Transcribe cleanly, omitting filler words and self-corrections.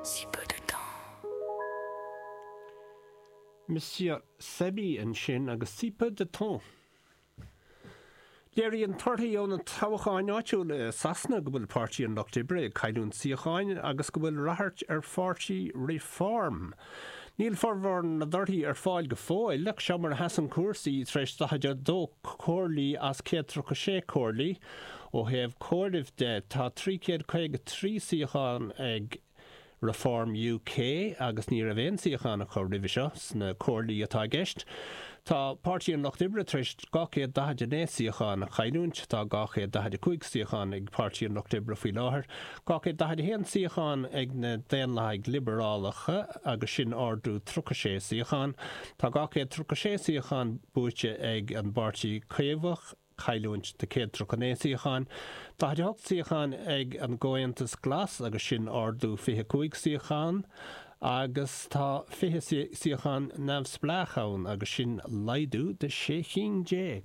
Si peu de temps. Monsieur Sebi ansin agus Si peu de temps. Léiríonn torthaí ó na toghcháin áitiúla i Sasana go bhfuil Páirtí an Lucht Oibre ag cailliúint suíocháin agus go bhfuil ráchairt ar pháirtí Reform. Níl formhór na dtorthaí ar fáil go fóill ach seo mar a sheasann cúrsaí tar éis 42 comhairlí as 136 comhairlí. Ó thaobh comhairimh de, tá 353 suíochán ag Reform UK agus ní raibh aon suíochán acu roimhe seo sna comhairlí atá i gceist. Tá Páirtí an Lucht Oibre tar éis 249 suíochán a chailliúint. Tá 245 suíochán ag Páirtí an Lucht Oibre faoi láthair. 241 suíochán ag na Daonlathaigh Liobarálacha agus sin ardú 36 suíochán. Tá 236 suíochán buaite ag an bPáirtí Caomhach. cailliúint de 139 suíochán, 48 suíochán ag an gComhaontas Glas agus sin ardú 25 suíochán agus tá 20 suíochán neamhspleách ann agus sin laghdú de 16 cinn.